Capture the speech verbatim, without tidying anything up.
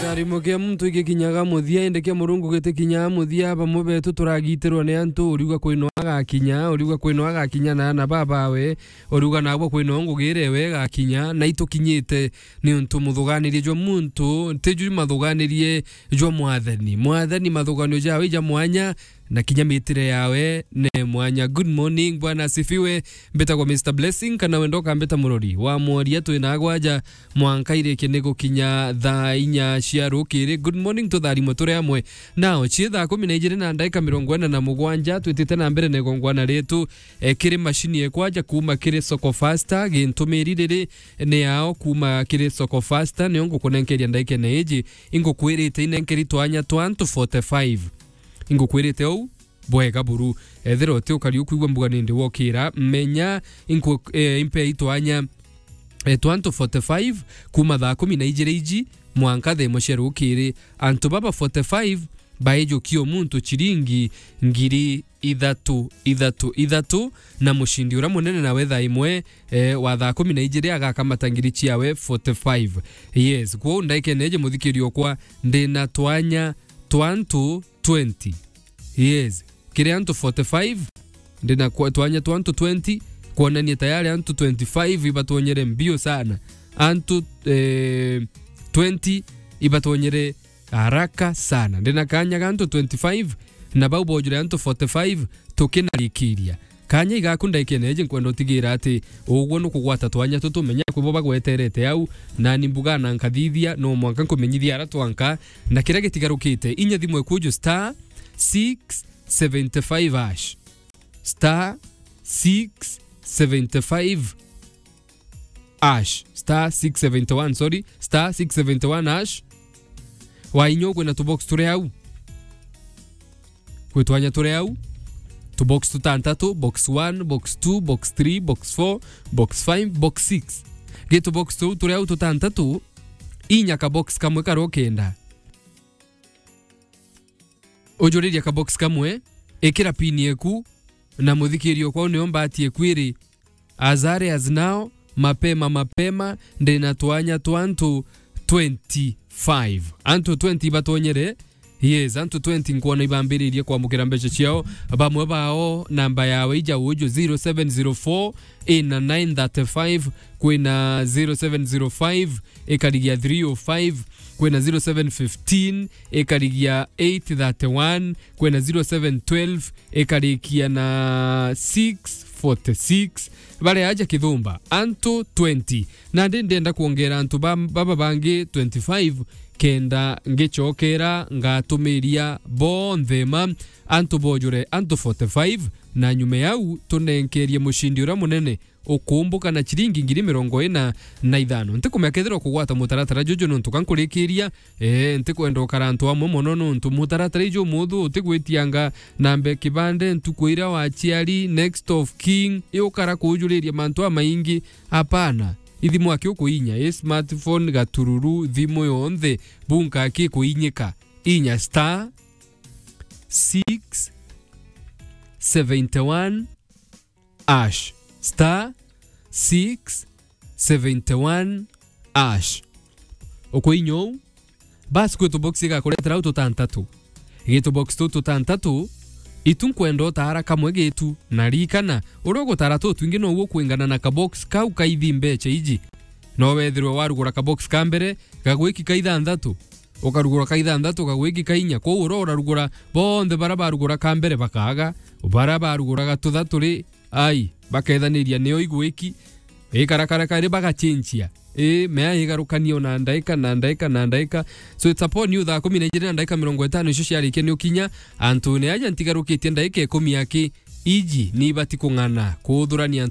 Arimo kia muntu igikinyaga muthia, indi kia Murungu gitikinyaga muthia. Bamwe betu turagitirwa ni antu, uriuga kwino agakinya, uriuga kwino agakinya na ana babawe, uriuga nagwa kwino ngugire we igakinya, na itukinyite niuntu muthuganirie jwa muntu, ti ju mathuganirie jwa Mwathani. Mwathani mathuganio jawe ja mwanya, na kinya mitire yawe ne mwanya. Good morning, Bwana asifiwe. Mbitagwa Mister Blessing, kana wenda ukambita murori wa mworia, twina agwaja mwanka irikie ni gukinya thaa inya cia rukiri. Good morning, tutharimwe turi amwe. Nao, cie thaa kumi na ijiri na ndaika mirongo ina na mugwanja, twitite na mbere na igongwana ritu, e, kiri mashini ekwaja kuma kiri Soko Fasta, gintumiri riri ni yao kuma kiri Soko Fasta, nio ngukunenkeria ndaikene iji, ingukwirite inenkeri twanya twa antu forty-five. Ingukwirite uu bwega buru. Ethira uti ukari ukwigua mbuga nindi wokira, menya inku-, eh, impe itwanya, eh, twa antu forty-five kuma thaa kumi na ijiri iji mwanka thaa imwe cia rukiri. Antu baba forty-five baijukia o muntu chiringi ngiri ithatu, ithatu, ithatu, na mushindi uria munene nawe thaa imwe, eh, wa thaa kumi na ijiri agakamata ngiri ciawe forty-five. Yes, kwou ndaikene iji muthikiri okwa, ndina twanya twa antu twenty. Yes. Kiri antu forty-five, ndina kwa-, twanya twa antu twenty, kwonania tayari antu twenty-five ibatonyere mbio sana. Antu, eh, twenty ibatonyere haraka sana. Ndina kanya ga antu twenty-five, na bau bojure antu forty-five, tukinarikiria. Kanya igaku ndaikene iji nkwenda utigira ati ugwo nukugwata twanya tutu, menya kwi bo bagweterete au, nani mbuga na nkathithia, no mwanka nkumenyithia ara twanka, na kiria gitigarukite, inya thimu ekuju star six seventy-five hash. Star six seventy-five hash. Star six seventy-one, sorry, star six seventy-one hash. Wainya kwina tubox turi au. Kwi twanya turi au. Tubox tutantatu, box one, box two, box three, box four, box five, box six. Gi tubox tuu turi au tutantatu, inya kabox kamwe karia ukenda. Ujuriria kabox kamwe, ikira pin yeku, na muthikiri okwa nio mbati eku iri. As early as now, mapema mapema, ndina twanya twa antu twenty-five. Antu twenty ibatonyere. Yes, antu twenty nkwona ibambiririe kwamukira mbeca ciao. Bamwe bao, namba yawe ija uju, zero seven zero four, ina nine thirty-five, kwina zero seven zero five, ikarigia three oh five, kwina zero seven fifteen, ikarigia eight thirty-one, kwina zero seven twelve, ikarikia na six forty-six. Baria aja kithumba, antu twenty. Nandi ndenda kwongera antu ba-, baba bangi twenty-five, kenda ngicokera ngatumiria bonthe ma antu bojure antu forty-five, na nyuma yau tunenkerie mushindi uria munene ukumbuka na chiringi ngiri mirongo ina na ithano. Ntikumenya kethira ukugwata mutaratara juju nontu ka nkurikiria, ee, ntikwenda ukara antu amwe mono nontu mutaratara iju umuthu utigwitianga nambe kibande, ntuku iria waciari, next of kin, iukara kuujuriria mantu amaingi. Apana. Ithimu aki ukuinya, i smartphone, gatururu, thimu yonthe, bunka aki kuinyika. Inya star six seventy-one hash. Star six seventy-one hash. Ukuinya uu, basi kwi tubox igakuretera au tutantatu. Gi tubox tuu tutantatu, itu nkwenda utaara kamwe gitu, na ririkana, uria ugutaara tutwingi nouo ukwingana na kabox kau kaithi mbeca iji. No wethirwe warugura kabox ka mbere, gagwiki ka ithanthatu. Ukarugura ka ithanthatu, kagwiki ka inya. Kwou uria urarugura, bonthe baria barugura ka mbere bakaaga, baria baruguraga tuthatu ri, ai, bakethaniria nio igwiki, ikarakara kari bagacenjia. Ii, mea igarukanie ona ndaika na ndaika na ndaika. So it's upon you, thaa kumi na ijiri na ndaika mirongo itano icio ciarikia ni ukinya, antune aja ntigarukitie ndaika ikumi aki, iji ni ibati kung'ana kuthurania